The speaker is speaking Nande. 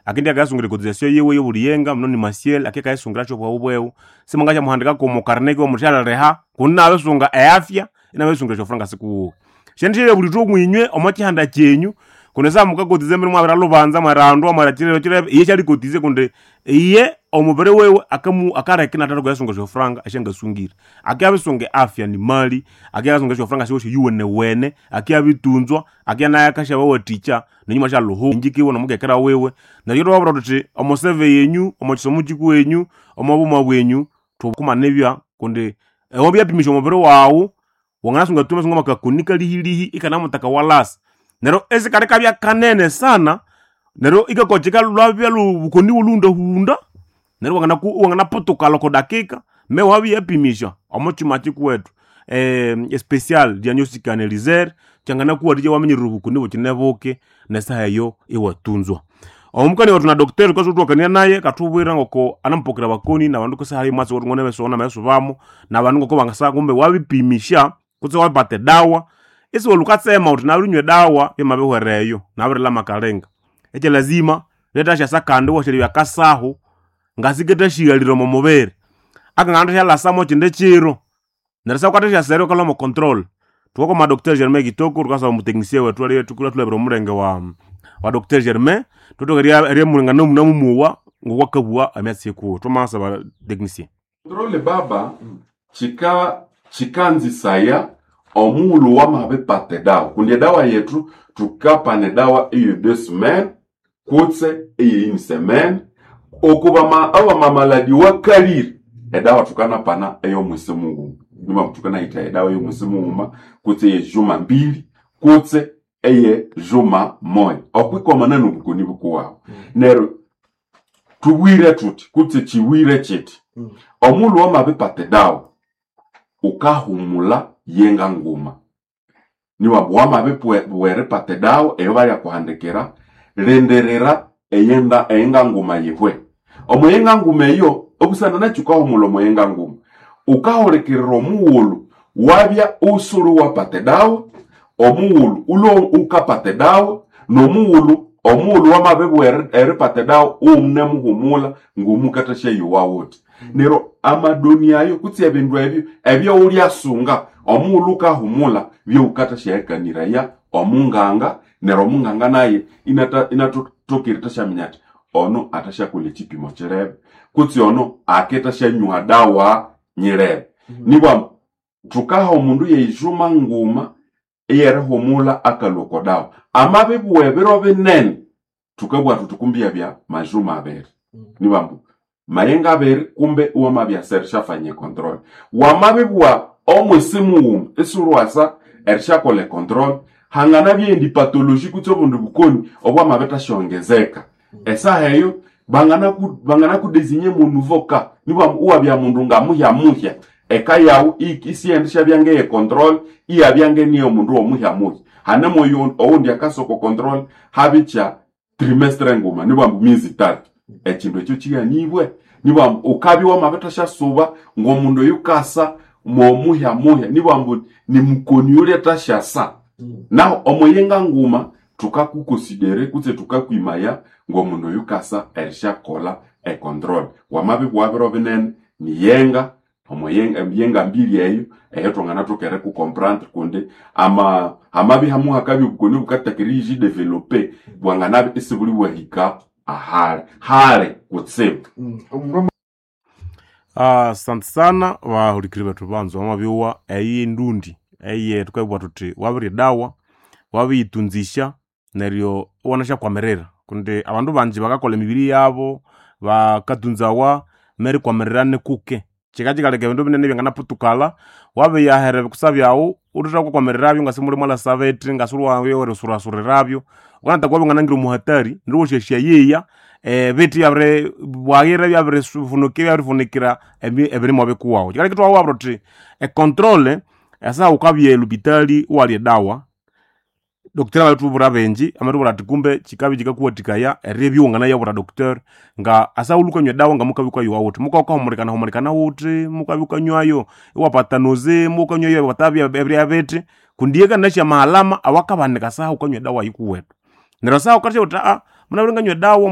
Akindi akayasungira cotisation yiwe yobuliyenga muno ni masiel ake kayasungira kyo bwawu bwewu simungasha muhandika komo karne ko mutyalaleha kuna abesunga eafya inabesungira kyofranga sikuwo shendishile buli mwinywe omo chihanda chenyu kundi sa mukakotize mbere mwabira lubanza mwarandwa mwarachirebe chirebe iye shalikotize kundi iye omubiri wewe akamu akareke nataka kuyasunga shofranga ashangasungire akiabisunge afya ni mali akiasunga shofranga shiwoshe yuwene wene akiabitunzwa akianaya kashaba waticha nenyuma shaluhu njikiwe nomukekera wewe neryo twabura tuthi omoseve yenyu omokisomo kikwenyu omobuma bwenyu tukumanebya kundi ewabyapimisha omubiri wawu wanganasunga tuma sunga makakunika lihilihi ikanamutaka walasa neryo esikali kabya kanene sana neryo ikakocheka lwabya lubukoni bulundahunda neryo wanganaputuka loko dakika me wabyapimisha omo chuma chikuwetu especial diagnostic analyzer changanakuwatikya waminyirira obukoni bukine buke nesaha eyo iwatunzwa omukani wethu na docteur tukasutwakania naye katubwira ngoko anamupokera bakoni nabandu kusaha imwatsi wetu ngone besona meso bamo nabandu ngoko bangasa kumbe wabipimisha kutse wabipata dawa isiwe lukatsema uthi nabinywa dawa byamabihwereyo nabirilama makalenga ekyo lazima letasyasa kandi washelebya kasahu ngasikethashihalire omo mubiri akangana thasyalasamo kindi kiro neryo sakwathasyasere ukalhwa mo control thukakoma Dr. Germain Kitoko thukasaba omuteknisia wethu aliye thukulatulabira omulenge wa Dr. Germain thuthoke eriamulengana namumuwa ngokwakabugha emyatsi ikuwe thwamasaba technicien. Controle baba chika chikanzisaya omuulu wamabipata edawa kundi edawa yetu tukapana edawa eye deux semaines kutse eye une semaine okubama abamamaladi wakalire edawa tukanapana ey'omwisi mughuma nima tukanayitha edawa ey'omwisi mughuma kutse eye juma mbili kutse eye juma moya okwikomana nobukoni bukuwawu neryo tubwire thuthi kutse chiwire chiti omuulu wamabipata edawa ukahumula yenga nguma niwambu wamabibwa eripata edawa eyo balyakuhandikira lindirira eyenda eyenga nguma yihwe omuyenga nguma eyo obusana nakyo ukahumula omuyenga nguma ukahulikirira omughulhu wabya usulu wapata edawa omughulhu ulwe ukapata edawa nomughulhu omughulhu wamabibwa eripata edawa uwunemuhumula ngumukathasyayuwa wuthi neryo amadoni ayo kutse ebindu ebyo ebyowulyasunga omughulhu ukahumula byowukathasyaghakaniraya omunganga neryo omunganga naye inatokire thasyaminya athi ono athasyakolha ekipimo kirebe kutse ono akethasyanywa dawa nyirebe nibwa thukaha omundu yeijuma nguma eyerihumula akalhwa oko dawa amabibugha ebiro binene thukabugha thuthi kumbi yabya majuma abiri nibambu mayenga abiri kumbe iwamabyasa erishafanya econtrol wamabibugha omwisi mughuma isiwulhuwasa erishakolha econtrol hanganabya endi pathology kutse obundi bukoni obwamabithasyongezeka esaha eyo banganakudesinye monuvo ka nibwa iwabya mundu ngamuhyamuhya eka yawu isiyendishabya ngeye control iyabya ngeniyo mundu womuhyamuhya hane moyo owundi akasoko control habikya trimestre nguma nibwambu miezi tatu ekindu ekyo kighanibwe nibwambu ukabya wamabithasyasuba ng'omundu oyu kasa mwomuhyamuhya nibwambu nimukoni yulya thasyasa naho omuyenga nguma thukakukonsidere kutse thukakwimaya ng'omundu oyu kasa erisyakolha econtrol wamabibugha biro binene niyenga omuyenga emiyenga mbiri eyo eyo thwanganathoka erikukomprendre kundi ama hamabya hamuhakabya obukoni obukathaka eriyidevelope bwanganabya isibuli bwahika ahali hali kutsibu. Omundu Asante sana bahulikiri bethu banzo wamabyowa eyi endundi eye thukabugha thuthi wabirya edawa wabiyitunzisya neryo iwanasyakwamiririra kundi abandu banji bakakolha emibiri yabo bakatunzawa merikwamirira nikuke kikakikaleka ebindu binene byanganaputukala wabiyahera ebikusa byawu uthethakwamirirabyo ngasi muli mwalasa bithi ngasi erisurasurirabyo wukanataka wabya omuhatari neryo iwasyasyayeya ebithi byabiri bwaghira byabirifunuka byabirifunikira ebirimwa bikuwawu kikaleka ithwabugha thuthi econtrol esaha wukabya elupitali iwalya edawa doctor amatubwira benji amatubwira ati kumbe kikabya kikakuwathikaya eribya iwanganayabwira doctor nga asaghulhu wukanywa edawa ngamukabya wukayuwa wuthi mukabya wukahumulikana humulikana wuthi mukabya wukanywayo iwapata noze mukanywayo iwapata ebirya bithi kundi iye kanasya amahalama awakabanika saha wukanywa edawa yikuwethu neryo saha wukatya wuthi munabire nganywa edawa.